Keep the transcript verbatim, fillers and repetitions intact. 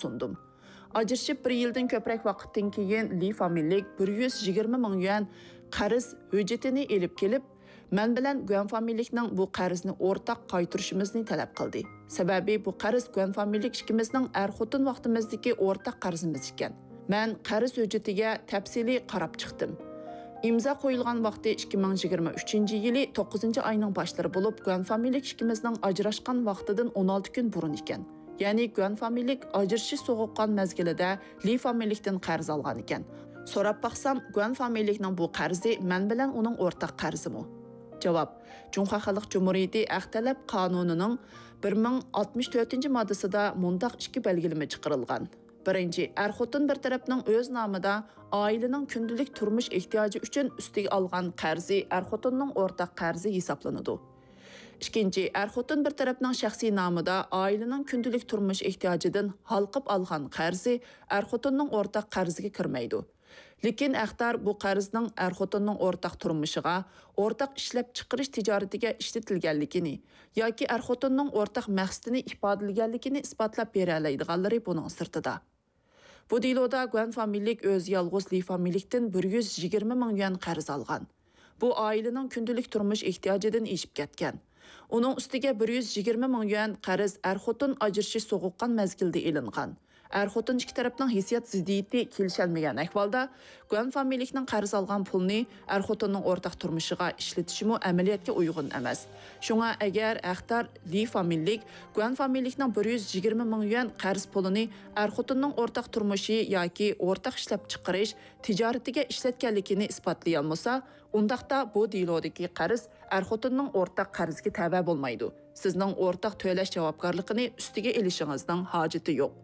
سۇندۇم. ئاجرىشىپ بىر يىلدىن كۆپرەك ۋاقىتتىن كېيىن، لى فامىلىلىك بىر يۈز يىگىرمە مىڭ يۈەن قەرز ھۆججىتىنى ئېلىپ كېلىپ، مەن بىلەن گۈەن فامىلىلىكنىڭ بۇ قەرزنى ئورتاق قايتۇرۇشىمىزنى تەلەپ قىلدى. سەۋەبى، بۇ قەرز گۈەن فامىلىلىك ئىككىمىزنىڭ ئەر-خوتۇن ۋاقتىمىزدىكى ئورتاق قەرزىمىز ئىكەن. مەن قەرز ھۆججىتىگە تەپسىلىي قاراپ چىقتىم. ئىمزا قويۇلغان ۋاقتى ئىككى مىڭ يىگىرمە ئۈچىنچى يىلى توققۇزىنچى ئاينىڭ باشلىرى بولۇپ، گۈەن فامىلىلىك ئىككىمىزنىڭ ئاجراشقان ۋاقتىدىن ئون ئالتە كۈن بۇرۇن ئىكەن. يەنى گۈەن فامىلىلىك ئاجرىشىش سوغۇققان مەزگىلىدە لى فامىلىلىكتىن قەرز ئالغان ئىكەن. سوراپ باقسام، گۈەن فامىلىلىكنىڭ بۇ قەرزى مەن بىلەن ئۇنىڭ ئورتاق قەرزىمۇ؟ جاۋاب، جۇڭخۇا خەلق جۇمھۇرىيىتى ھەق تەلەپ قانۇنىنىڭ بىر مىڭ ئاتمىش تۆتىنچى ماددىسىدا مۇنداق ئىككى بەلگىلىمە چىقىرىلغان. بىرىنچى، ئەر-خوتۇن بىر تەرەپنىڭ ئۆز نامىدا ئائىلىنىڭ كۈندىلىك تۇرمۇش ئېھتىياجى ئۈچۈن ئۈستىگە ئالغان قەرزى ئەر-خوتۇننىڭ ئورتاق قەرزى ھېسابلىنىدۇ. ئىككىنچى، ئەر-خوتۇن بىر تەرەپنىڭ شەخسىي نامىدا ئائىلىنىڭ كۈندىلىك تۇرمۇش ئېھتىياجىدىن ھالقىپ ئالغان قەرزى ئەر-خوتۇننىڭ ئورتاق قەرزىگە كىرمەيدۇ. لېكىن ھەقدار بۇ قەرزنىڭ ئەر-خوتۇننىڭ ئورتاق تۇرمۇشىغا، ئورتاق ئىشلەپچىقىرىش تىجارىتىگە ئىشلىتىلگەنلىكىنى ياكى ئەر-خوتۇننىڭ ئورتاق مەقسىتىنى ئىپادىلىگەنلىكىنى ئىسپاتلاپ بېرەلەيدىغانلىرى بۇنىڭ سىرتىدا. بۇ دېلودا گۇەن فامىلىلىك ئۆزى يالغۇز لى فامىلىلىكتىن بىر يۈز يىگىرمە مىڭ يۈەن قەرز ئالغان. بۇ ئائىلىنىڭ كۈندىلىك تۇرمۇش ئېھتىياجىدىن ئېشىپ كەتكەن. ئۇنىڭ ئۈستىگە بىر يۈز يىگىرمە مىڭ يۈەن قەرز ئەر-خوتۇن ئاجرىشىش سوغۇققان مەزگىلىدە ئېلىنغان. ئەر-خوتۇن ئىككى تەرەپنىڭ ھېسسىيات زىددىيىتى كېلىشەلمىگەن ئەھۋالدا، گۇەن فامىلىلىكنىڭ قەرز ئالغان پۇلىنى ئەر-خوتۇننىڭ ئورتاق تۇرمۇشىغا ئىشلىتىشىمۇ ئەمەلىيەتكە ئۇيغۇن ئەمەس. شۇڭا ئەگەر ھەقدار لى فامىلىلىك گۇەن فامىلىلىكنىڭ بىر يۈز يىگىرمە مىڭ يۈەن قەرز پۇلىنى ئەر-خوتۇننىڭ ئورتاق تۇرمۇشى ياكى ئورتاق ئىشلەپچىقىرىش تىجارىتىگە ئىشلەتكەنلىكىنى ئىسپاتلىيالمىسا، ئۇنداقتا بۇ دېلودىكى قەرز ئەر-خوتۇننىڭ ئورتاق قەرزىگە تەۋە بولمايدۇ. سىزنىڭ ئورتاق تۆلەش جاۋابكارلىقىنى ئۈستىگە ئېلىشىڭىزنىڭ ھاجىتى يوق.